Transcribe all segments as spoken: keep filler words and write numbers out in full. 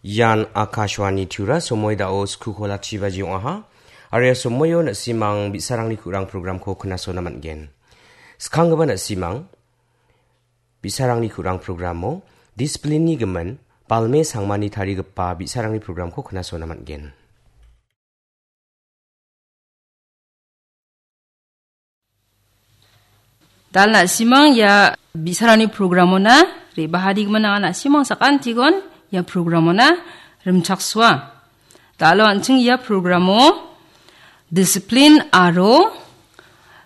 Ian Akashvani Tura, somoi dao sku kolachi baji ong·aha. Aro ia somoio na·simang bi·sarangni ku·rang programko knasona man·gen. Skanggipa na·simang bi·sarangni ku·rang programo discipline-ni gimin Balme Sangmani tarigipa bi·sarangni programko knasona man·gen. Dal na·simang ia bi·sarangni programona re·bahadigimin anga na·simang sakantikon ia programona rimchaksoa. Dalo an·ching ia programo discipline aro,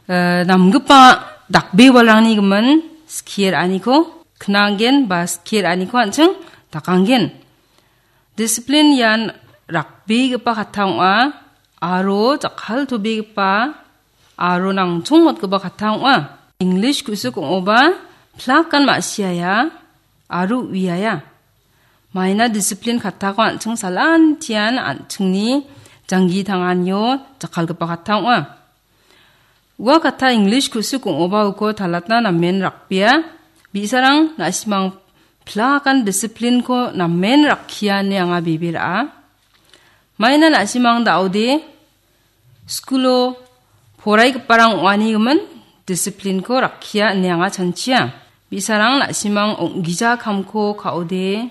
eh, namgipa dakbe walrangni gimin skie ra·aniko knanggen ba skie ra·aniko an·ching dakanggen. Discipline ian rakbegipa katta ong·a aro jakkaltobegipa aro nangchongmotgipa katta ong·a. English ku·sik ong·oba plakan ma·siaia aro uiaia. Maina discipline kattako an·ching salantian an·chingni janggi tanganio jakkalgipa katta ong·a. Ua katta English ku·sik ong·oba uko talatna namen rakbea. Bi·sarang na·simang plakan discipline-ko namen rakkia ine anga bebe ra·a. Maina na·simang da·ode skulo poraigiparang ong·ani gimin discipline-ko rakkia ine anga chanchia. Bi·sarang na·simang ong·gija kamko ka·ode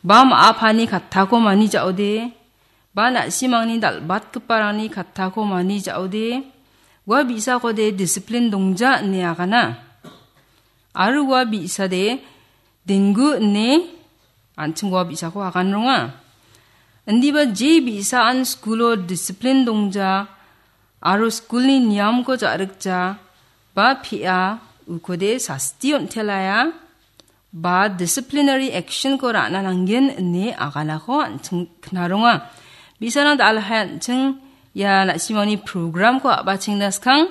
ba ma·a pani kattako mani ja·ode ba na·simangni dal·batgiparangni kattako mani ja·ode ua bi·sakode discipline dongja ine agana. Aro ua bi·sade denggu ine an·ching ua bi·sako agan ronga. Indiba je bi·saan skulo discipline dongja aro skulni niamko ja·rikja ba pe·a ukode sasti on·telaia ba disciplinary action-ko ra·na nanggen ine aganako an·ching knaronga. Bi·sarang da·alhai an·ching ia na·simangni program-ko a·bachengna skang.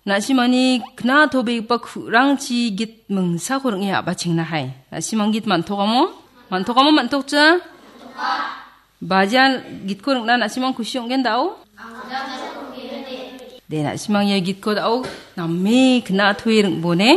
Na·simangni knatobegipa ku·rangchi git mingsako ring·e a·bachengna hai. Na·simang git man·tokamo? Man·tokamo man·tokja? Bajian gitko ring·na na·simang kusi ong·gen da·o? De, na·simang ia gitko da·o name knatoe ring·bone.